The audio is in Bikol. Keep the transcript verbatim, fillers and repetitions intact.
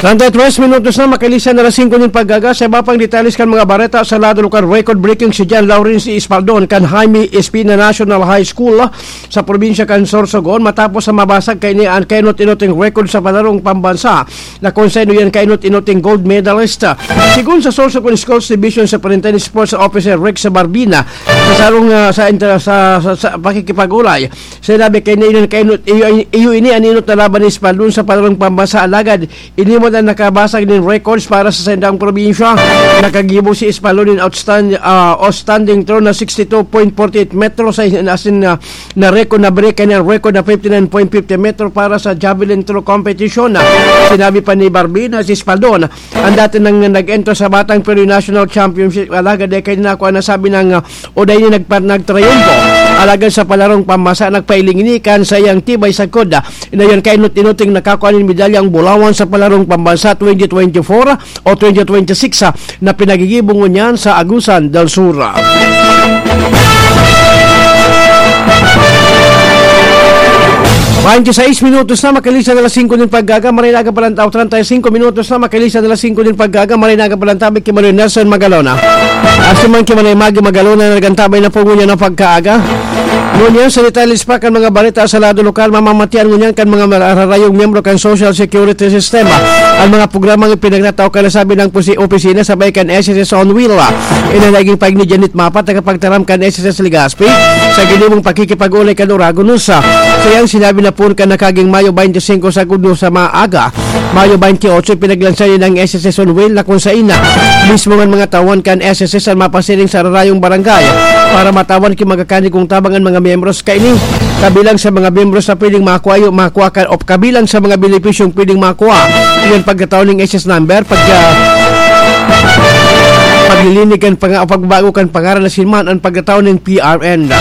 Treinta y tres minutos na, makalisan na alas singko nin paggaga. Sa iba pang detalles kan mga bareta, sa lado lokal, record-breaking si John Lawrence Espaldon kan Jaime Espina National High School sa probinsya kan Sorsogon, matapos sa mabasag kaini an kainot-inoting record sa palarong pambansa na kung sino yan kainot-inoting gold medalist. Sigon sa Sorsogon Schools Division Superintendent Sports Officer Rex Barbina, sa sarong, ah, sa inter-, sa, sa, sa pakikipag-ulay, sinabi kay na iyon kainot, iyo, iyo ini an inot na laban ni Espaldon sa palarong pambansa, alagad ini man ang nakabasag nin records para sa saindang probinsya. Nakagibo si Espaldon nin outstand-, ah, outstanding throw na sixty two point forty eight metro sa in-, asin na, na record na break kaya ang record na fifty nine point fifty metro para sa javelin throw competition. Sinabi pa ni Barbina, si Espaldon, ang dati nang nag-enter sa Batang Pinoy National Championship, alagad ay kaya na ako ang nasabi ng, ah, o dahil nagpa-, nagtrayumpo. Alagad sa palarong pambansa, nagpailing ini kan saiyang tibay sagkod, ah, na yan kainot-inoting nakakua nin medalyang bulawan sa palarong pambansa twenty twenty-four o twenty twenty-six, ah, na pinagigibo ngunyan sa Agusan del Sur. Twenty-six minutos na, makalisan na alas singko nin paggaga, maray na aga palantaw, treinta y cinco minutos na, makalisan na alas singko nin paggaga, maray na aga palantaw, ki Manuel Nelson Magalona. Asiman ki Manay Maggie Magalona na nagantabay na po ngunyan ang pagkaaga. Ngunyan, sa detalles pa kan mga bareta sa lado lokal, mamamatian ngunyan kan mga mararayong miyembro kan social security system. Ang mga programang ipinagnatao kan nasabi ng pusi-, opisina sabay kan S S S on Wheel. Inanaging pag ni Janet Mapat, nakapagtaram kan S S S Legazpi, sa ginibong pakikipag-ulay kan Oragonus. Sa iyang sinabi na pun kan nakaging Mayo twenty-five sa Gudno sa maaga, Mayo twenty-eight, pinaglansa nin ang S S S on Wheel na kung sain na mismo ngan mga tawan kan S S S ang mapasiring sa rarayong barangay para matawan ki magakanikong tabang an mga miyembros kaini. Kabilang sa mga miyembros na pwedeng makua iyo, makua kan, o kabilang sa mga benepisyong pwedeng makua, iyan pagkatao ning S S number, pagka-, paglilinig kan panga-, o pagbago kan pangaran na sinman ang pagkatao ning P R N.